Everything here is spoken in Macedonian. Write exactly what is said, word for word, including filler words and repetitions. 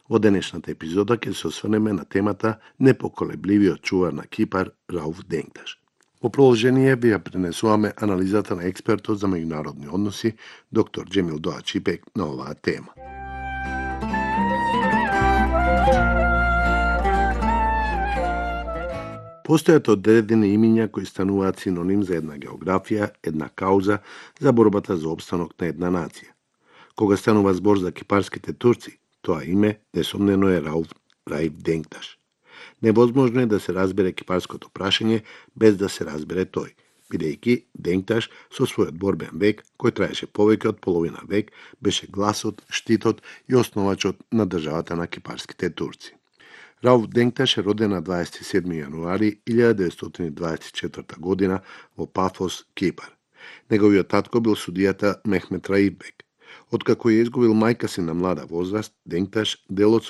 Во денешната епизода ќе се осврнеме на темата непоколебливиот чувар на Кипар Рауф Денгташ. Во продолжение ви ја пренесуваме анализата на експертот за меѓународни односи доктор Џемил Доачипек на оваа тема. Постојат одредени имиња кои стануваат синоним за една географија, една кауза за борбата за опстанок на една нација. Кога станува збор за кипарските турци, тоа име несомнено е Рауф Раиф Денгташ. Невозможно е да се разбере кипарското прашање без да се разбере тој, бидејќи Денгташ со својот борбен век, кој траеше повеќе од половина век, беше гласот, штитот и основачот на државата на кипарските турци. Рауф Денгташ е роден на дваесет и седми јануари илјада деветстотини дваесет и четврта година во Пафос, Кипар. Неговиот татко бил судијата Мехмет Раиф бек. Откако ја изгубил мајка си на млада возраст, Денгташ дел од